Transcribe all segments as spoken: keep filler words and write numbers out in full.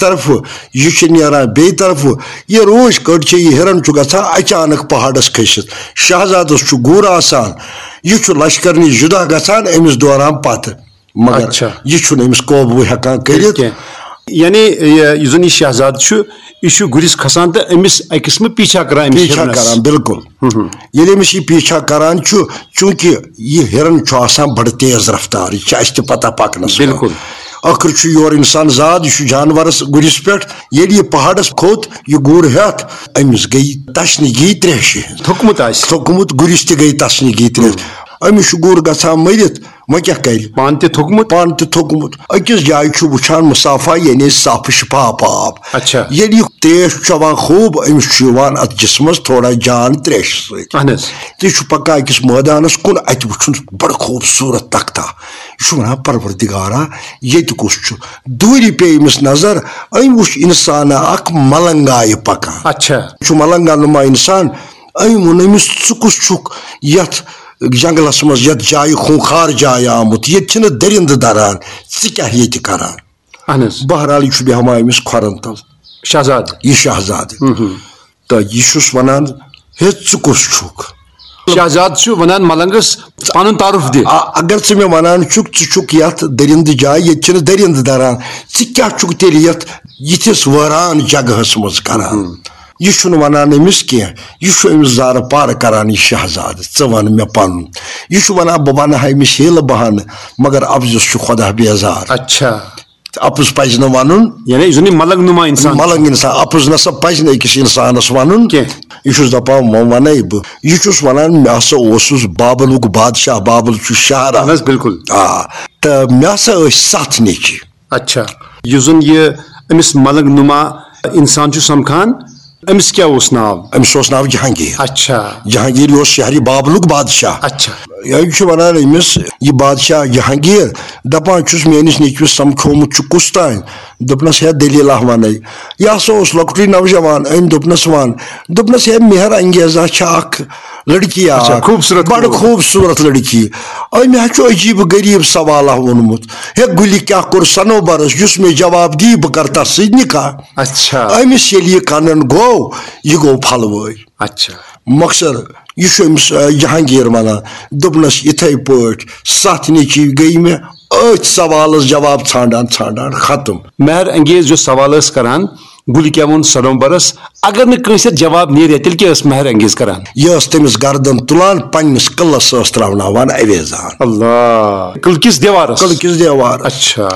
طرفہٕ، یہِ چھُ نیران بیٚیہِ طرفہٕ۔ یہِ روٗنٛچ کٔٹ چھِ، یہِ ہِرن چھُ گژھان اچانک پہاڑس کھٔسِتھ۔ شہزادس چھُ گُر آسان، یہِ چھُ لشکر نِش جُدا گژھان أمِس دوران پتہٕ، مگر اچھا۔ یہِ چھُنہٕ أمِس قوبوٗ ہٮ۪کان کٔرِتھ۔ کینٛہہ۔ یعنی، یہِ، یُس زن یہِ شہزادٕ چھُ، یہِ چھُ گُرِس کھسان تہٕ أمِس أکِس منٛز پیٖچھا کران أمِس پیٖچھا ہِرنس۔ کران، بِلکُل۔ ہُم۔ ییٚلہِ أمِس یہِ پیٖچھا کران چھُ، چوٗنٛکہِ یہِ ہِرن چھُ آسان بڑٕ تیز رفتار، یہِ چھِ اَسہِ تہِ پتہ پکنس منٛز۔ بِلکُل۔ ٲخٕر چھُ یورٕ اِنسان زاد، یہِ چھُ جانورس گُرِس پٮ۪ٹھ۔ ییٚلہِ یہِ پہاڑس کھوٚت، یہِ گُر ہٮ۪تھ، أمِس گٔیہِ تشنگی ترٛیشہِ ہٕنٛز۔ تھوٚکمُت آسہِ۔ تھوٚکمُت گُرِس تہِ گٔیہِ تشنگی ترٛیش۔ أمِس چھُ گُر گژھان مٔرِتھ، وۄنۍ کیٛاہ کرِ؟ پانہٕ تہِ تھوٚکمُت؟ پانہٕ تہِ تھوٚکمُت۔ أکِس جایہِ چھُ وٕچھان مُصافا، یعنی صاف شفاف آب۔ اچھا۔ ییٚلہِ یہِ تیش چھُ چٮ۪وان خوب، أمِس چھُ یِوان اَتھ جسمس تھوڑا جان ترٛیشہِ سۭتۍ۔ اہن حظ۔ تہٕ یہِ چھُ پکان أکِس مٲدانس کُن، اَتہِ وٕچھُن بڑٕ خوٗبصوٗرت تختہ۔ یہِ چھُ وَنان، پروردگارا، ییٚتہِ کُس چھُ؟ دوٗرِ پیٚیہِ أمِس نظر، أمۍ وٕچھ اِنسانا اکھ ملنگایہِ پکان۔ اچھا۔ یہِ چھُ ملنگا نُما اِنسان۔ أمۍ ووٚن أمِس، ژٕ کُس چھُکھ یَتھ جنگلس منٛز، یَتھ جایہِ، خوٗنخار جایہِ آمُت؟ ییٚتہِ چھِنہٕ دٔرِندٕ دران، ژٕ کیٛاہ ییٚتہِ کران؟ اہن حظ۔ بہرحال، یہِ چھُ بیٚہوان أمِس کھۄرن تل۔ شہزادٕ۔ یہِ شہزادٕ۔ ہُم ہُم۔ تہٕ یہِ چھُس وَنان، ہے، ژٕ کُس چھُکھ؟ شہزادٕ چھُ وَنان ملنگس، پنُن تعارُف دِ۔ آ، اگر ژٕ مےٚ وَنان چھُکھ، ژٕ چھُکھ یَتھ دٔرِندٕ جایہِ، ییٚتہِ چھِنہٕ دٔرِندٕ دران، ژٕ کیٛاہ چھُکھ تیٚلہِ یَتھ یِتھِس وٲران جگہس منٛز کران؟ ہُم۔ یہِ چھُنہٕ وَنان أمِس کینٛہہ، یہِ چھُ أمِس زارٕ پارٕ کران، یہِ شہزادٕ، ژٕ وَن مےٚ پَنُن۔ یہِ چھُ وَنان، بہٕ وَنہٕ ہا أمِس ہیلہٕ بہانہٕ، مگر اَپزِس چھُ خۄدا بیزار۔ اچھا۔ اَپُز پَزِ نہٕ وَنُن۔ یعنی یُس زَن یہِ ملنگ نُما اِنسان چھُ۔ ملنگ اِنسان، اَپُز نہ سا پَزِ نہٕ أکِس اِنسانَس وَنُن۔ کینٛہہ۔ یہِ چھُس دَپان، وۄنۍ وَنَے بہٕ۔ یہِ چھُس وَنان، مےٚ ہسا اوسُس بابلُک بادشاہ، بابل چھُ شاہراہ۔ اہن حظ، بِلکُل۔ آ، تہٕ مےٚ ہسا ٲسۍ سَتھ نیٚچِوۍ۔ اچھا۔ یُس زَن یہِ أمِس ملنگ نُما اِنسان چھُ سَمکھان، أمِس کیٛاہ اوس ناو؟ أمِس اوس ناو جہانگیر۔ اچھا۔ جہانگیر، یہِ اوس شہرِ بابلُک بادشاہ۔ اچھا۔ یہِ چھُ وَنان أمِس، یہِ بادشاہ جہانگیر، دَپان چھُس، میٛٲنِس نیٚچوِس سَمکھیومُت چھُ کُس تام؟ دوٚپنَس، ہے، دٔلیٖلہ وَنَے۔ یہِ ہسا اوس لۄکٹُے نوجوان، أمۍ دوٚپنَس، وَن۔ دوٚپنَس، ہے، مہر انگیزہ چھےٚ اکھ لڑکی اچھا، اکھ۔ خوٗبصوٗرت بڑٕ کوٗر۔ خوٗبصوٗرت لڑکی۔ أمۍ ہا چھُ عجیٖب غریٖب سوالہ ووٚنمُت۔ ہے، گُلہِ کیٛاہ کوٚر صنوبرس، یُس مےٚ جواب دی، بہٕ کرٕ تَس سۭتۍ نکاح۔ اچھا۔ أمِس ییٚلہِ یہِ کنن گوٚو، یہِ گوٚو پھلوٲے۔ اچھا۔ مۄخصر، یہِ چھُ أمِس، آ، جہانگیر ونان۔ دوٚپنس، یِتھے پٲٹھۍ ستھ نیٚچوۍ گٔے مےٚ أتھۍ سوالس جواب ژھانڈان ژھانڈان ختم۔ مہر انگیز یُس سوال ٲس کران، گُلہِ کیٛاہ ووٚن صنوبرس، اگر نہٕ کٲنٛسہِ اَتھ جواب نیرِ، تیٚلہِ کیٛاہ ٲس مہر انگیز کران؟ یہِ ٲس تٔمِس گردن تُلان، پننِس قلعس ٲس تراوناوان اویزان۔ اللہ! قلعہٕ کِس دیوارس؟ قلعہٕ کِس دیوارس۔ اچھا۔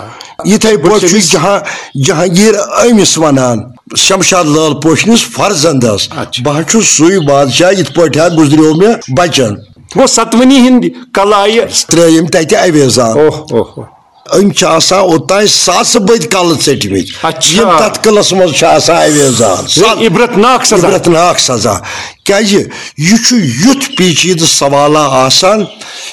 یِتھے پٲٹھۍ چھُ بہٕ چھُس جہاں-، جہانگیر أمِس ونان، شمشاد لال پوشنِس فرزندس، اچھا۔ بہٕ ہا چھُس سُے بادشاہ، یِتھ پٲٹھۍ ہا گُزریو مےٚ بچن۔ گوٚو ستوٕنی ہِنٛدۍ قلعہٕ آیہِ۔ ترٲوۍ أمۍ تتہِ اویزان۔ اوہ، اوہ، اوہ۔ أمۍ چھِ آسان اوٚتام ساسہٕ بٔدۍ کلہٕ ژٔٹمٕتۍ۔ اچھا۔ یِم تتھ قلعس منٛز چھِ آسان اویزان۔ یہِ عبرتناک سزا۔ عبرتناک سزا۔ کیازِ؟ یہِ چھُ یُتھ پیچیدٕ سوالہ آسان،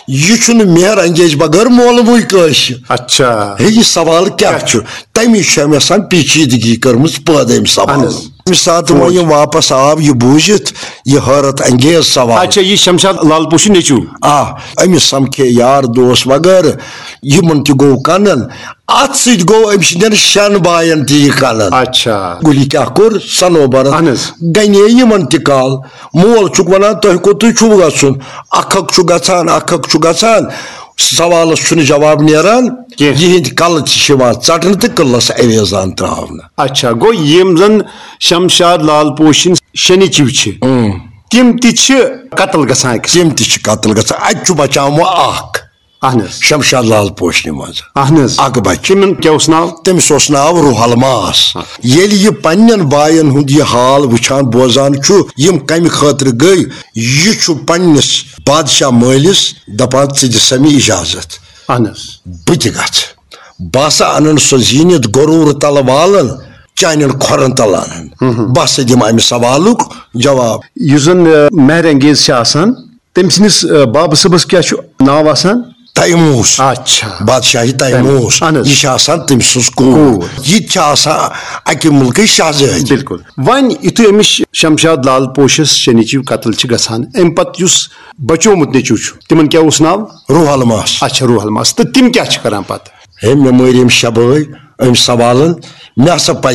یہِ چھُنہٕ مہر انگیز بغٲر مولوٕے کٲنٛسہِ۔ اچھا۔ ہے، یہِ سوال کیٛاہ چھُ؟ تَمی چھِ أمۍ آسان پیچیدگی کٔرمٕژ پٲدٕ أمۍ سوالَن۔ اہن حظ۔ ییٚمہِ ساتہٕ وۄنۍ یہِ واپس آو، یہِ بوٗزِتھ یہِ حٲرت انگیز سوال۔ اچھا، یہِ شمشاد لال پوشی نیٚچوٗ؟ آ، أمِس سمکھے یار دوس وغٲرٕ، یِمن تہِ گوٚو کنن۔ اتھ سۭتۍ گوٚو أمۍ سٕنٛدٮ۪ن شٮ۪ن باین تہِ یہِ کنن۔ اچھا۔ گُلہِ کیٛاہ کوٚر صنوبرن؟ اہن حظ۔ گنے یِمن تہِ کال۔ مول چھُکھ ونان، تۄہہِ کوٚتُے چھُو گژھُن؟ اکھ اکھ چھُ گژھان، اکھ اکھ چھُ گژھان۔ سوالس چھُنہٕ جواب نیران۔ کینٛہہ۔ یِہنٛدۍ کلہٕ تہِ چھِ یِوان ژٹنہٕ تہٕ قلعس اویزان تراونہٕ۔ اچھا، گوٚو یِم زن شمشاد لال پوشِن شنیچو چھِ، اۭں۔ تِم تہِ چھِ قتل گژھان أکِس۔ تِم تہِ چھِ قتل گژھان۔ اتہِ چھُ بچان وۄنۍ اکھ۔ اہن حظ۔ شمشاد لال پوشنہِ منٛز۔ اہن حظ۔ اکھ بچہِ۔ تِمن کیٛاہ اوس ناو؟ تٔمِس اوس ناو روح الماس۔ ہاں۔ ییٚلہِ یہِ پننٮ۪ن باین ہُنٛد یہِ حال وٕچھان بوزان چھُ، یِم کمہِ خٲطرٕ گٔے، یہِ چھُ پننِس بادشاہ مٲلِس دپان، ژٕ دِ سا مےٚ اجازت۔ اہن حظ۔ بہٕ تہِ گژھٕ۔ بہٕ ہسا انن سۄ زیٖنِتھ غرور تلہٕ والن، چانٮ۪ن کھۄرن تل انن۔ ہُم ہُم۔ بہٕ ہسا دِمہٕ امہِ سوالُک جواب۔ یُس زن، آ، مہر انگیز چھِ آسان، تٔمۍ سٕنٛدِس، آ، بابہٕ صٲبس کیٛاہ چھُ ناو آسان؟ تیموس۔ اچھا۔ بادشاہی تیموس۔ اہن حظ۔ یہِ چھِ آسان تٔمۍ سٕنٛز کوٗر۔ کوٗر۔ یہِ تہِ چھِ آسان اکہِ مُلکٕچ شہزٲدۍ۔ بِلکُل۔ وۄنۍ یُتھُے أمِس شمشاد لال پوشس شنیچو قتل چھِ گژھان، امہِ پتہٕ یُس بچومُت نیٚچوٗ چھُ، تِمن کیٛاہ اوس ناو؟ روح الماس۔ اچھا، روح الماس۔ تہٕ تِم کیٛاہ چھِ کران پتہٕ؟ ہے، مےٚ مٲرۍ أمۍ شےٚ بٲے، أمۍ سوالن، مےٚ ہسا پزِ